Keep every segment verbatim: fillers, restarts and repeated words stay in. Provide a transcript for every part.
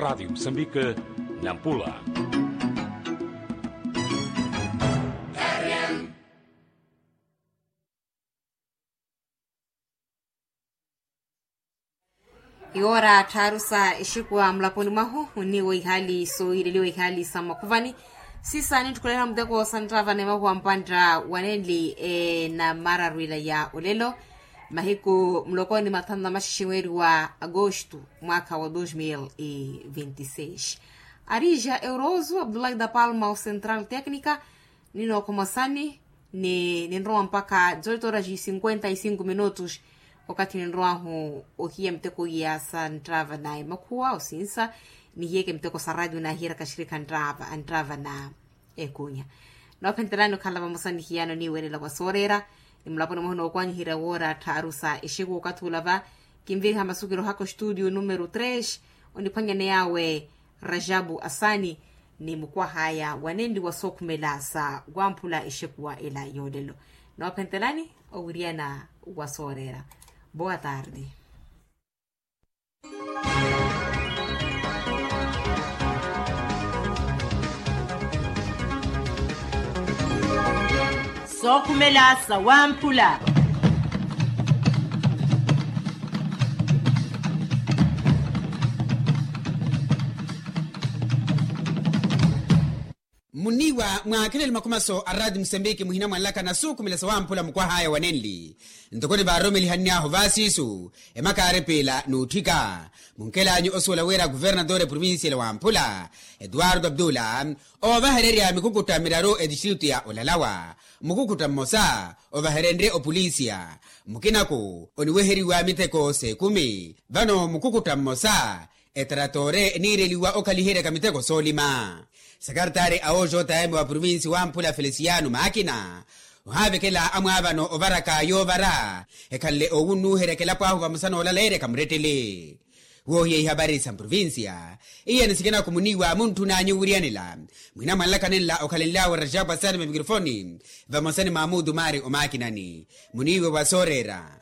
Rádio Moçambique, Nampula. Iwoora tthaaru sa exikuwa mulaponi mwahu, onniiwa ihaali sooyileliwa ihaali sa mmakhuvani. Sisa ninttukulela muteko sa nttava na emahuwa mpantta wa nenli ena mararwila ya olelo. Mahiku muloko ni mathanu na maxexe mweeri wa agosto, mwaakha wa dos mil e vinti seis. Arija euroso abdullahi da palma o central tecnica. Ninookhomasani ni ninrowa mpakha dezoito horas e cinquenta e cinco minutos. Okathi ninrowahu ohiya miteko iya sa nttava na emakhuwa osinsa, nihiyeke miteko sa radio nahiyeraka axirikha nttava na ekunya. Noophentelani okhala vamosa nihiyano niiwelela wa sooreera. Ni mulaponi mwahu nookwanyiherya woora tthaaru sa exeku okathi olava. Kinviriha masukiro haka ostudio numero tres, oniphwanyane yawe rajabu asani, ni mukwah'aya wa nenli wa sookhumela sa wamphula exekuwa ela yoolelo. Noophentelani owiriyana wa sooreera. Boa tarde. Sookhumela sa wamphula. Muniiwa mwaakhelele makhumaso a raati musambiki muhina mwanlaka na suukhumela sa wamphula mukwah'aya wa nenli. Ntoko nivaaroromelihannyahu vaasiisu emakaari piila n'utthika, munkhel'anyu osuwela wira kuvernatore provincial wamphula, etuwarto abdula, oovahererya mikukutta miraru etistritu ya olalawa. Mukukutta mmosa ovaherenrye opolisiya, mukinaku oniweheriwa miteko s'ekumi. Vano mukukutta mmosa etraratore eniireliwa okhaliheryaka miteko soolima. Sakaritari a ojo time wa provinsi wamphula felisiano makina, ohaavekela amwaavano ovaraka yoovara ekhanle owunnuuheryaka elapo ahu vamosa noolaleeryaka murettele. Woohiya ihavari sa mprovinsiya, iyeni sikina kumuniiwa muntthun'anyu wiriyanela. Mwina mwanlakanenla okhalenlyawe rajabu asani mamikrofoni, vamosa ni mamudu mari omakinani. Muniiwe wa sooreera.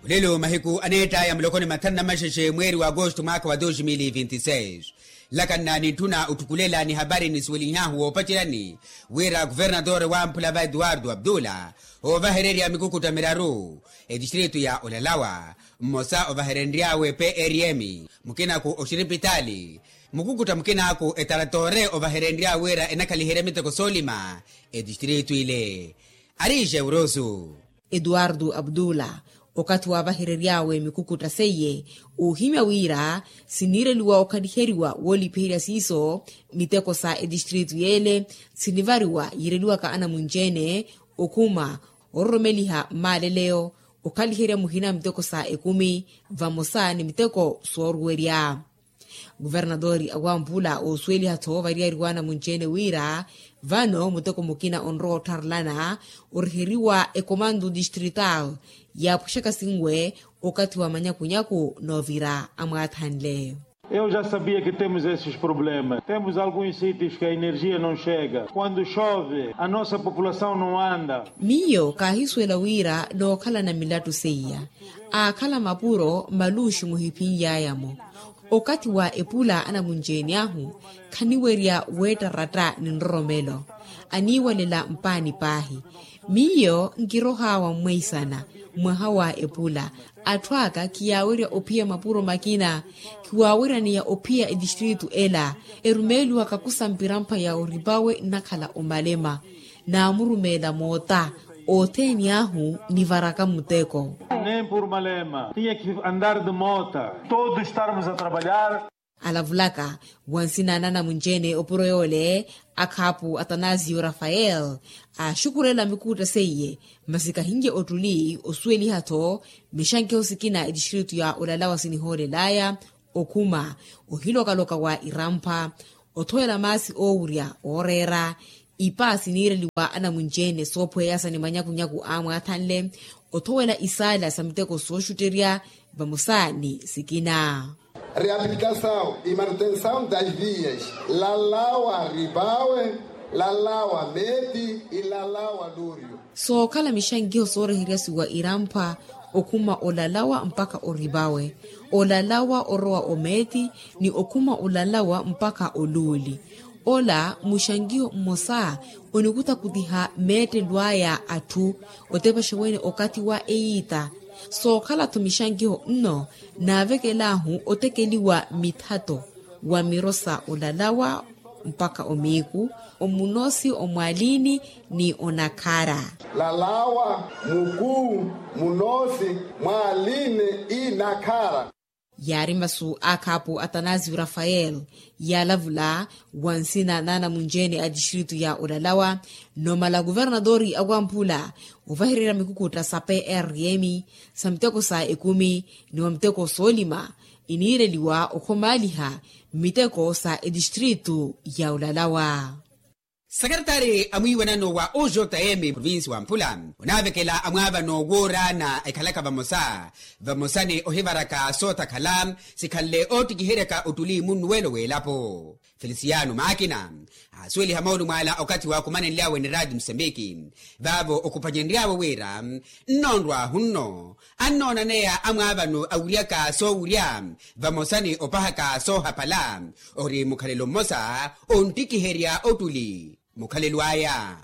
Olelo mahiku aneett'aya muloko ni mathanu na maxexe mweeri wa agosto mwaakha wa dos mil e vinti seis, nlakanna nintthuna otthukulela ni hapari nisuwelinhyahu woopaceryani, wira kuvernatore wamphula va etuwarto abdula, oovahererya mikukutta miraru etistritu ya olalawa, mmosa ovaherenry'awe prm, mukinaku oxiripitaali, mukukutta mukinaku etaratore ovaherenrya wira enakhaliherya miteko soolima etistritu ile. Ariixe urosu. Etuwarto abdula, okathi waavaherery'awe mikukutta seiye, oohimya wira siniireliwa okhaliheriwa woolipiherya siiso miteko sa etistritu yeele, sinivariwa yiireliwaka anamunci-ene, okhuma, ororomeliha mmaaleleyo, okhaliherya muhina miteko sa ekumi, vamosa ni miteko sooruwerya. Kuvernatori awamphula oosuweliha-tho variyari w'anamunci-ene wira vano muteko mukina onrowa otharelana oriheriwa ekomando distrital, yaapwexaka sinwe okathi wa manyakunyaku noovira amwaathanle. Eu já sabia que temos esses problemas, temos alguns sítios que a energia não chega, quando chove a nossa população não anda. Miyo kaahisuwela wira nookhalana milattu seiya, aakhala mapuro maluxi muhiphinly'aya-mo. Okathi wa epula anamunci-ene ahu khaniwerya weettaratta ni nroromelo, aniiwalela mpaani paahi. Miyo nkiroh'awa mmweisana mwaha wa epula, atthu aka khiyaawerya ophiya mapuro makina, khiwaaweryaniya ophiya etistritu ela, erumeeliwaka kusampira mpha ya oripawe nnakhala omalema. Naamurumeela moota othene ahu nivaraka muteko. Nem por malema tinha que andar de mota, todos estarmos a trabalhar. Alavulaka wa nsina na anamunci-ene opuro yoole, akhaapu atanasio rafael, aaxukulela mikuutta seiye, masi kahinlye ottuli osuweliha-tho mixankeho sikina etistritu ya olalawa sinihoolel'aya, okhuma, ohiloka-loka wa irampha, othowela maasi oowurya ooreera, ipa siniireliwa anamunci-ene soophweyasa ni manyakunyaku aamwaathanle, othowela isaala sa miteko sooxutterya vamosa ni sikina. Reabilitação e manutenção das vias lalawa ripawe. Lalawa meeti ilalawa luuriyo. Sookhala mixankiho sooreheryasiwa irampa okhuma olalawa mpakha orivawe, olalawa orowa omeeti ni okhuma olalawa mpakha oluuli. Ola muxankiho mmosa onikutakutiha meettelo aya atthu otepaxa wene okathi wa eyiita. Sookhala-tho mixankiho nno naavekel'ahu otekeliwa mithato wa miro sa olalawa mpakha omiiku, omunoosi omwaliini ni onakhara. Lalawa mukuu munoosi mwaliini inakhara. Yaari masu a khaapu atanasio rafael yaalavula wa nsina n'anamunci-ene a tistritu ya olalawa, nomala kuvernatori a wamphula ovahererya mikukutta sa prm sa miteko sa ekumi ni wa miteko soolima iniireliwa okhomaaliha mmiteko sa etistritu ya olalawa. Sekeretari a mwiiwanano wa ojm provinsi wa mpula onaavekela amwaavano wooraana ekhalaka vamosa vamosa ni ohivaraka sootakhala sikhanle oottikiheryaka ottuli munnuwelo w'elapo. Felisiyano maakina aasuweliha moolumo ala okathi waakumanenly'awe ni raati musambiki vaavo okhupanyenry'awe wira nnoonrw'ahu nno annoonaneya amwaavano awiryaka soowirya vamosa ni opahaka soohapala ori mukhalelo mmosa onttikiherya ottuli mukhalelo aya.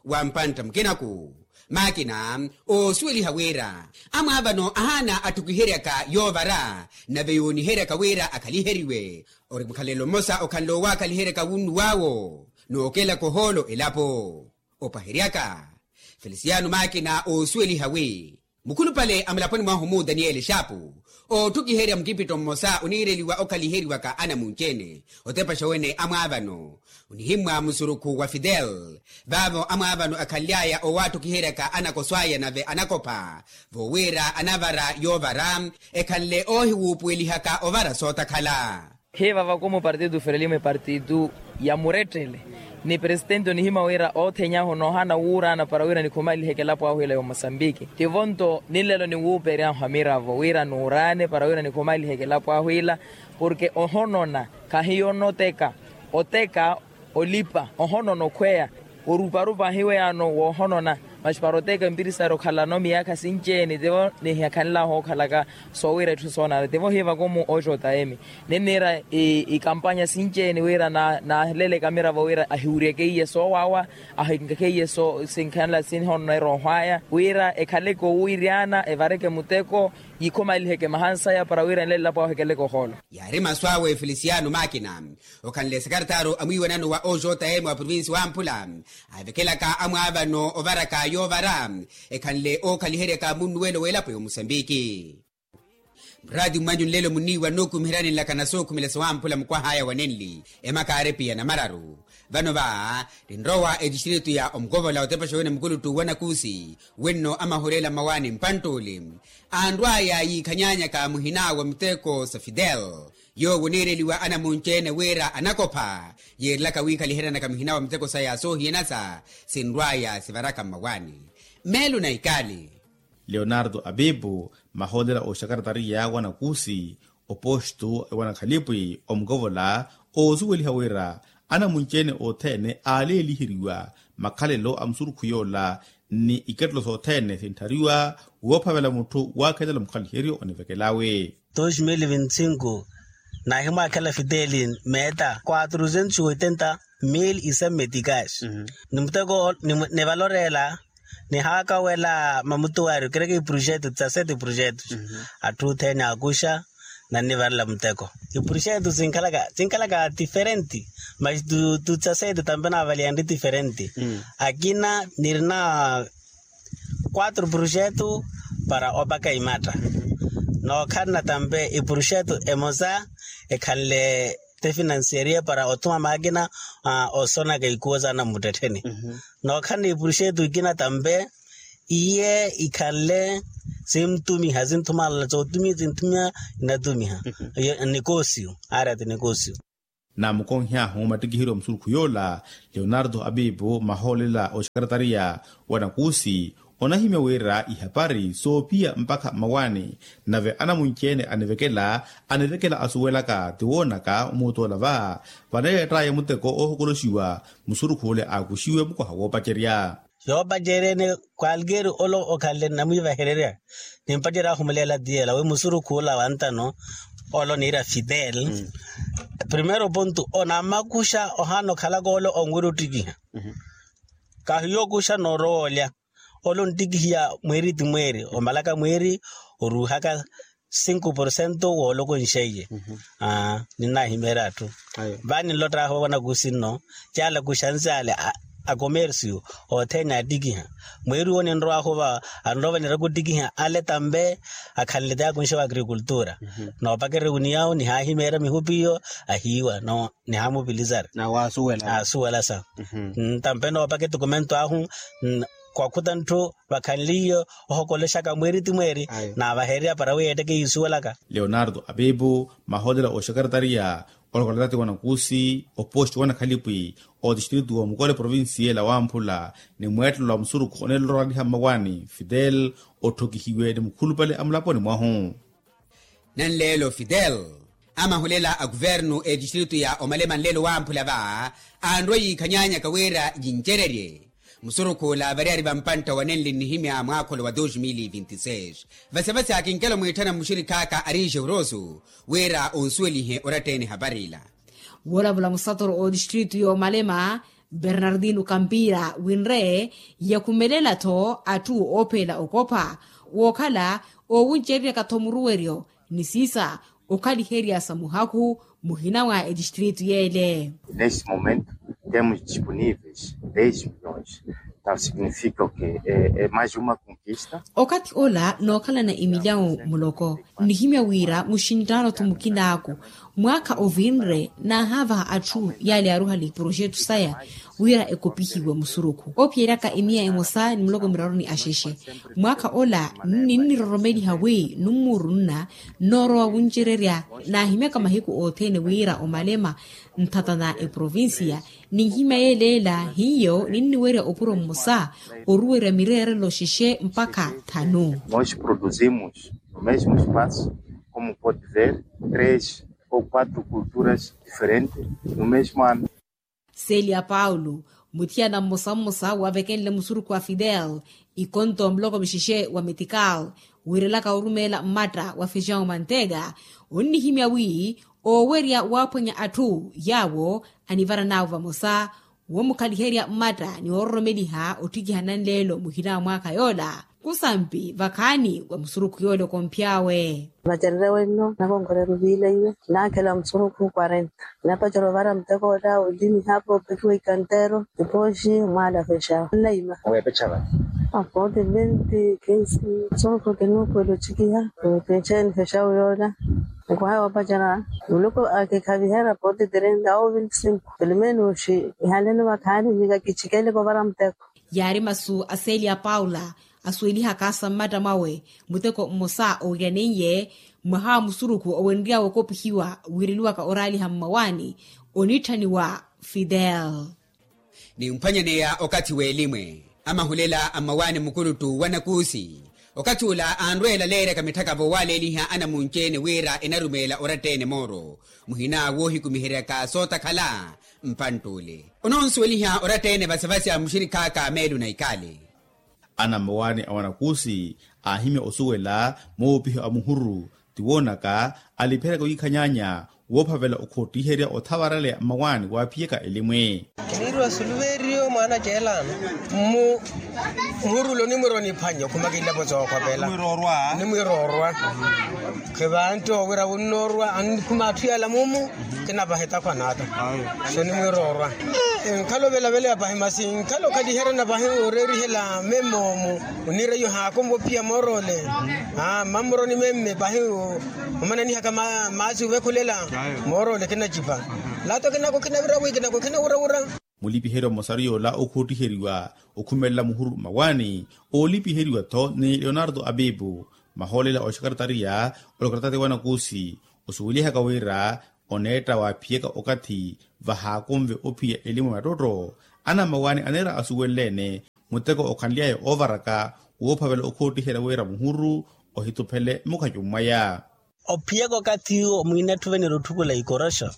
Wa mpantta mukinaku maakina oosuweliha wira amwaavano ahaana atthukiheryaka yoovara nave yooniheryaka wira akhaliheriwe ori mukhalelo mmosa okhanle owakhaliheryaka wunnuw'awo nookelaka ohoolo elapo. Opaheryaka felisiyano maakina oosuweliha wi mukhulupale a mulaponi mwahu mu daniyeli xaapu ootthukiherya mukipitto mmosa oniireliwa okhaliheriwaka anamunci-ene otepaxa wene amwaavano onihimmwa musurukhu wa fidel vaavo amwaavano akhanly'aya owaatthukiheryaka anakoso aya nave anakopha voowira anavara yoovara ekhanle oohiwuupuwelihaka ovara sootakhala. Hiva vakumu partidu ferelimo epartidu ya murettele ni presitenti onihimya wira othenya ahu noohana wuuraana para wira nikhumaliheke elapo ahu ila ya omosambiki tivo nto ninlelo niwuuperyahu amiravo wira nuuraane para wira nikhumaliheke elapo ahu ila porke ohonona khahiyo onoteka oteka olipa ohonona okhweya oruparupa ahiweyaano woohonona masi para oteka empirisari okhalano miyaakha sinci-ene tivo nihakhanlahu okhalaka soowira etthu soonana tivo hivakomu ojm ninniira ikampanya sinci-ene wira naaleleke amiravo wira ahiwuryeke iye soowawa ahinkakhe iye sinkhanla sinhonona eroohwaya wira ekhaleke owiryana evareke muteko yikhomaliheke mahansaya para wira nlelapo ahu ekeleke ohoolo. Yaari masu awe felisiyano maakina okhanle sekaretaru a mwiiwanano wa ojm wa provinsi wa mpula aavekelaka amwaavano ovaraka yoovara ekhanle ookhaliheryaka munnuwelo w'elapo ya omusambiki. Muraati mwanyu nlelo munniiwa nookumiheryanilaka na sookhumela sawamphula mukwah'aya wa nenli emakaari piya namararu vano va ninrowa etistritu ya omukovola otepaxa wene mukuluttu wa nakusi wenno amahureela mmawaani mpanttuli anrw'aya yiikhanyanyaka muhina wa miteko sa fidel yoowo oniireliwa anamunci-ene wira anakopha yeerilaka wiikhaliheryanaka muhina wa miteko saya soohiyanasa sinrw'aya sivaraka mmawaani meelo na ikali. Leonardo apipu mahoolela oxakaratariya wa nakusi opostu wa nakhalipwi omukovola oosuweliha wira anamunci-ene othene aaleeliheriwa makhalelo a musurukhu yoola ni ikettelo sothene sintthariwa woophavela mutthu waakhelela mukhaliheryo onivekelawe. Dos mil vinti cinco naahimwaakhela fideli meeta quatrucentos oitenta mil isemmeticas ni muteko nivaloreela nihaakawela mamutuwari okereke iprojeto dezasete iprojeto atthu othene aakuxa nannivarela muteko iprojeto sinkhalaka diferente masi tu dezasete tampe naavaliyanri diferente akina nirina quatro projeto para opaka imatta nookhalana tampe iprojeto emosa ekhanle te financeria para othuma maakina osonaka ikuwo saana mmuttettheni nookhalana iprojeto ikina tampe iye ikhanle simtumiha sinthumalala sootumiha sinthumiha inatumiha nikosiyo aarati nikosiyo. Naamukonhy'ahu mattikiheryo a musurukhu yoola leonardo apipu mahoolela oxakaratariya wa nakusi Onahimya wira ihapari soophiya mpakha mmawaani. Nave anamunci-ene anivekela anivekela asuwelaka ti woonaka omuutoola va vaneett'aya muteko oohokoloxiwa musurukhu ole aakuxiwe mukoha woopacerya. Yoopacerya-ene kwalkeeri ole okhanle nnamwiivahererya nimpacerya ahumuleela tiyela wi musurukhu ola wantano ole oniira fidel. Primeiro pontu onamakuxa ohaana okhalaka ole onwira ottikiha kahiyo okuxa noorowa olya. Ole onttikihiya mweeri ti mweeri omalaka mweeri oruuhaka sinku porcento woolokonxeiye. Ninnahimeerya atthu vani nlott'ahu wanakusi nno caala kuxansi ale a komersiyo othene attikiha mweeri wo ninrow'ahu va anrowa vaniraka ottikiha ale tambe akhanle ti akunxe wa agrikultura noopakerya ewuniyahu nihahimeerya mihupi iyo ahiiwa no nihamupilizari. Asuwela sa ntampe noopaka etukumento ahu kwakhuta ntthu vakhanliyo ohokolexaka mweeri ti mweeri naavahererya para wi yeetteke yiisuwelaka. Leonardo apipu maholela oxekaretariya olokola tati wanakusi oposti wanakhalipwi otistritu wa mukole provinsiyela wamphula ni mweettelo wa musurukhu oneelola oraliha mmawaani fidel otthokihiwe ni mukhulupale a mulaponi mwahu. Nanleelo fidel amahulela a kuvernu etistritu ya omalema nleelo wamphula va anrwa yiikhanyanyaka wira yincererye musurukhu ola variyari va mpantta wa nenli nnihimya mwaakholo wa dos mil vinti seis. Vasevase akinkela omwiitthana mmuxirikhaaka ari jeuroso wira onsuwelihe oratta-ene ehapari ila. Woolavula musatoro ootistritu yoomalema bernardino kampira winre yakhumelela-tho atthu oopheela okopha wookhala oowuncereryaka-tho muruweryo ni siisa okhaliherya sa muhakhu muhina mwa etistritu yeele. Neste momento temos disponíveis dez milhões. Então significa o que é mais uma conquista. Okathi ola nookhalana emilyawu muloko nnihimya wira muxinttaano-tho mukinaaku mwaakha ovinre naahaavaha atthu yaale yaaruhale projetu saya wira ekopihiwe musurukhu ophiyeryaka emiya emosa ni muloko miraru ni axexe. Mwaakha ola ninniroromeliha wi nummuuru nna nnoorowa wuncererya naahimyaka mahiku othene wira omalema nthatana eprovincia ninhimya yeeleela hiyo ninniwerya opuro mmosa oruwerya mireerelo xexe mpakha thanu. Nós produzimos no mesmo espaço como pode ver três ou quatro culturas diferentes no mesmo ano. Celia paulo muthiyana mmosa mmosa wavekenle musurukhu wa fidel ikonto muloko mixexe wa metikal wiirelaka orumeela mmatta wa fejawu mantega onnihimya wi oowerya waaphwanya atthu yaawo anivaran'awe vamosa woomukhaliherya mmatta ni woororomeliha otthikiha nanleelo muhina wa mwaakha yoola kusampi vakhaani wa musurukhu yoole okomphy'awe. Vacererya wenno nakonkorera oviila iwe naakhela musurukhu quarenta napacerya ovara muteko ola olimi hapa opekiwa ikantero ipooxi mwaala fexawu nnaima. Weepecha vani apooti venti kinsi musurukhu kinuupuwela otxikiha. Kinxeeni fexawu yoola nikuhaya opacerya muluku akikhaviherya pooti trenta ou venti cinco. Pelimeni oxi ihaleno vakhaani vika kitxikeleke ovara muteko. Yaari masu a celia paula asuwelihaka sa mmatta mwawe muteko mmosa owiryaneiye mwaha wa musurukhu owenry'awe okopihiwa wiireliwaka oraaliha mmawaani onitthaniwa fidel. Nimphwanyaneya okathi w'elimwe amahulela a mmawaani mukuluttu wa nakuusi okathi ula anrweela leeryaka mitthaka voowaleeliha anamunci-ene wira enarumeela oratta-ene mooro muhina woohikumiheryaka sootakhala mpantt'ule ononsuweliha oratta-ene vasivasi a muxirikhaaka meelo na ikaali. Ana mmawaani a wanakuusi aahimya osuwela moopiha a muhuru ti woonaka alipiheryaka wiikhanyaanya woophavela okhottiherya othavaraleya mmawaani waaphiyaka elimwe. Kiniiriwa suluveeriyo mwaana ceelaano mmu muhuru ole onimwiira oniphwanya okhuma kilapo sookhopela nimwiira orwa. Khivantti owira wunnoorwa annikhuma atthu yaala mumu kinapaha etakhwa n'ata. So nimwiira orwa nkhala ovelavela ya pahi masi nkhala okhaliheryana pahi oreerihela meme omu oniira iyo haakonva ophiya moor'ole. Mmammuroni meme pahi omananihaka maasi ovekhulela moor'ole kinacipa. Lato kinako kinavira wi kinako kinawurawura. Mulipiheryo mmosaru yoola okhuuttiheriwa okhumelela muhuru mmawaani oolipiheriwa-tho ni leonardo abibu mahoolela oxekaretariya olokola tati wanakuusi osuwelihaka wira oneetta waaphiyaka okathi vahaakonve ophiya elimu ya mattootto. Ana mmawaani aneera asuwelele-ene Muteko okhanly'aya oovaraka woophavela okhootiherya wira muhuru ohituphele mukhacu mwaya. Ophiyaka okathi iwo mwiinatthi ovenera otthukula ikoroxo,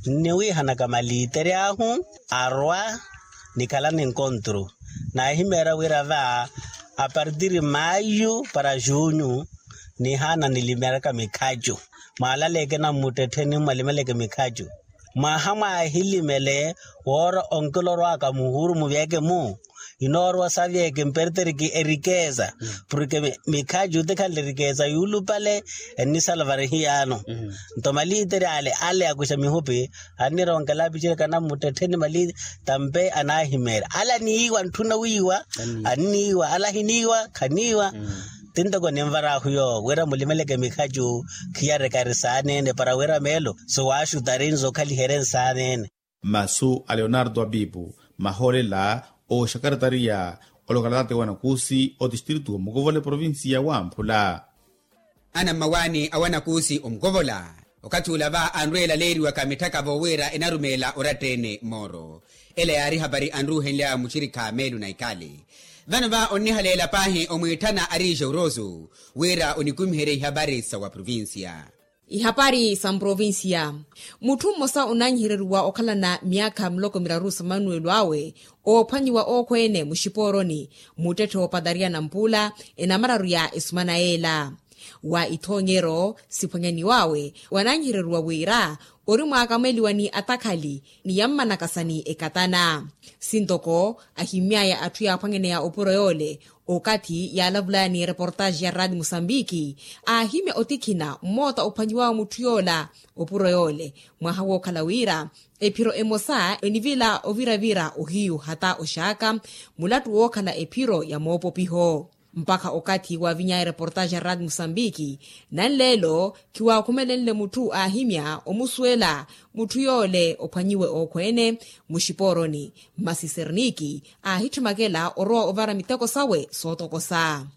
nniwiihanaka maliiteri ahu arwa nikhalana enkontru. Naahimeerya wira va apartiri mayu para junyu nihaana nilimeraka mikhacu. Mwaalaleeke nammuttettheni mmalimeleke mikhacu. Mwaha mwaahilimele woora onkilorwaka muhuru muvyeke-mu, inoorwa savyeke mperteriki erikeza. Porke mikhacu ti khanle erikeza yuulupale ennisalvare hiyaano. Nto maliiteri ale ale akuxa mihupi annironkela apicereka nammuttettheni maliiteri. Tampe anaahimeerya ale aniiwa ntthuna wiiwa. Anniiwa ale ahiniiwa khaniiwa. Ti ntoko ninvar'ahu yoowo wira mulimeleke mikhacu khiyarekari saaneene para wira meelo sowaaxutari nzokhaliherye nsaaneene. Masu a leonardo abibu mahoolela ooxakaratariya olokalatate wa nakuusi otistritu wa mukovola eprovincia wa amphula. Ana mmawaani a wanakuusi omukovola okathi ula va anrweela leeriwaka mitthaka voowiira enarumeela oratta-ene mooro. Ela yaari ehapari anruuhenlya muxirikha meelu na ikali. Vano va onnihaleela paahi omwiitthana ariixe urosu wira onikumiherye ihapari sa wa provincia. Ihapari sa mprovincia. Mutthu mmosa onaanyihereriwa okhalana myaakha miloko miraru sa manuwelo awe oophwanyiwa ookhweene muxipooroni muttetthe woopatariyana mpuula enamararu ya esumana yeela. Wa ithoonyero siphwanyaniw'awe wanaanyihereriwa wira ori mwaakamweliwa ni atakhali ni yammanakasa ni ekatana. Sintoko ahimmy'aya atthu yaaphwanyaneya opuro yoole okathi yaalavulaya ni ereportaxi ya raati musambiki aahimya otikhina mmoota ophwanyiw'awe mutthu yoola opuro yoole mwaha wookhala wira ephiro emosa enivila oviravira ohiyu hata oxaaka mulattu wookhala ephiro ya moopopiho. Mpakha okathi waaviny'aya ereportaxi ya raati musambiki nanleelo khiwaakhumelenle mutthu aahimya omusuwela mutthu yoole ophwanyiwe ookhweene muxipooroni masi serniki aahitthimekela orowa ovara miteko sawe sootokosa.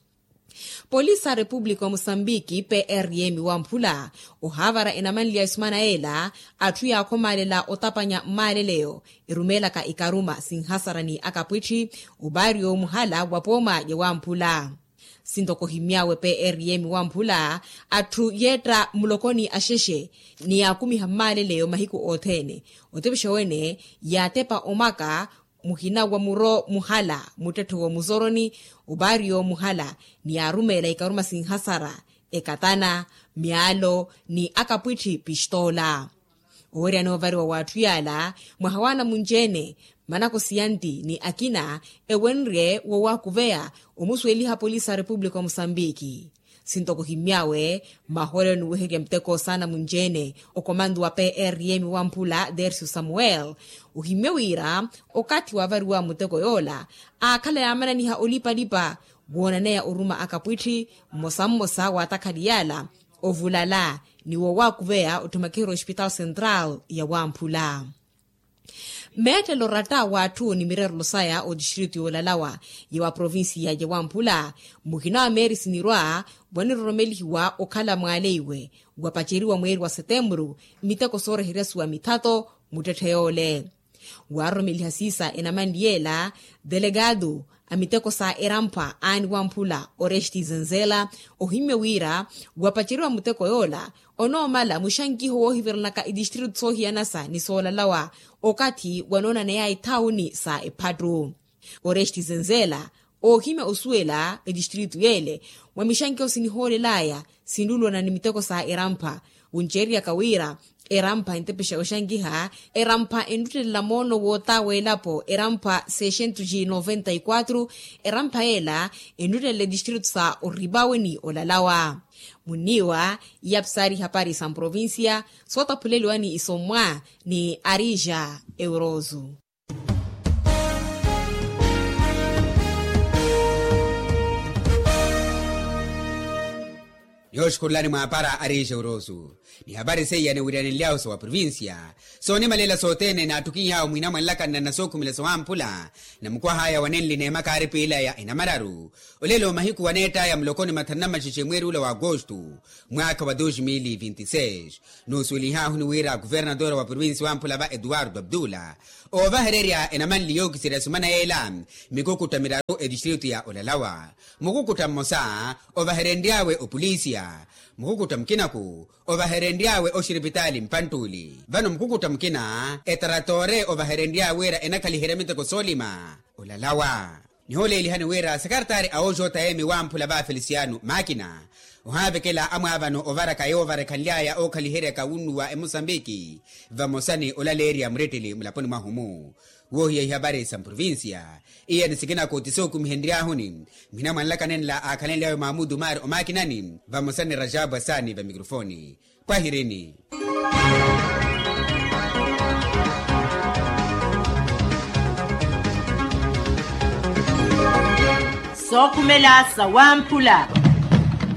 Polisi a repupulika wa musambiki prm wamphula ohaavara enamanli ya esumana yeela atthu yaakhomaalela otapanya mmaaleleyo erumeelaka ikaruma sinhasara ni akapwitthi opaari yoomuhala wa pooma ya wamphula. Sintoko ohimmy'awe prm wamphula atthu yeetta mulokoni axexe ni yaakumiha mmaaleleyo mahiku othene otepexa wene yaatepa omaka muhina wa muro muhala muttetthe woomusoroni opaari yoomuhala ni yaarumeela ikaruma sinhasara ekatana myaalo ni akapwitthi pistoola. Oweryani ovariwa w'atthu yaala mwaha w'anamunci-ene manakosi ya nti ni akina ewenrye wowaakuveya omusuweliha polisi a repupulika wa musambiki. Sintoko ohimmy'awe mahoolelo niweherya muteko saana munci-ene okomantu wa prm wamphula dercio samuel ohimmye wira okathi waavariwa muteko yoola aakhala yaamananiha olipalipa woonaneya oruma akapwitthi mmosa mmosa w'atakhali yaala ovulala ni wowaakuveya otthumakiherya ospitaal central ya wamphula. Meettelo ratta w'atthu ni mireerelo saya otistritu yoolalawa ya wa provincia ya wamphula muhina wa meeri sinirwa waniroromelihiwa okhala mwaaleiwe wapaceriwa mweeri wa setemburu miteko sooreheryasuwa mithato muttetthe yoole. Waaroromeliha siisa enamanli yeela delegado a miteko sa erampa aani wamphula oresti zenzela ohimmye wira wapaceriwa muteko yoola onoomala muxankiho woohivirelaka itistritu soohiyanasa ni soolalawa okathi wanoonaneyaya ithawuni sa ephattu. Oresti zenzela oohimya osuwela etistritu yeele mwa mixankiho sinihoolelaya sinluulwana ni miteko sa erampha wunceeriyaka wira erampha entepexa oxankiha erampha enruttelela moono woota w'elapo erampha seiscentos e noventa e quatro erampha yeela enruttelela etistritu sa oripawe ni olalawa. Munniiwa iyapsari ihapari sa mprovincia sootaphuleliwa ni isommwa ni arija eurozu. Yooxukhurulani mwaapara ariixe urosu ni hapari seiya niwiriyanenly'ahu sa wa provincia soonimalela sothene naatthukiny'ahu mwiina mwanlakanna na sookhumela sowamphula namukwah'aya wanenli n'emaka aaripiilaya enamararu. Olelo mahiku waneett'aya muloko ni mathanu na maxexe mweeri ula wa agosto mwaakha wa dos mil e vinte e seis. Noosuwelih'ahu ni wira kuvernatora wa provincia wamphula va eduardo abdula Oovahererya enamanli yookiserya sumana yeela, mikukutta miraru etistritu ya olalawa. Mukukutta mmosa ovaherenry'awe opolisiya. Mukukutta mukinaku ovaherenry'awe oxiripitaali mpanttuli. Vano mukukutta mukina etaratoore ovaherenry'awe wira enakhaliherya miteko soolima olalawa. Nihoolelihani wira sekartari a ojota emi wamphula va felisiano makina ohaavekela amwaavano ovaraka yoovarekhanly'aya ookhaliheryaka wunnuwa emosambiki vamosa ni olaleerya muretteli mulaponi mwahu-mu. Woohiya ihavari sa mprovincia iya ni sikinaku ti sookumihenry'ahuni. Mhina mwanlaka nenla aakhalenly'awe mamudu mari omakinani vamosa ni rajabwa saani va mikrofoni. Pwahirini. Sookhumela sa wamphula.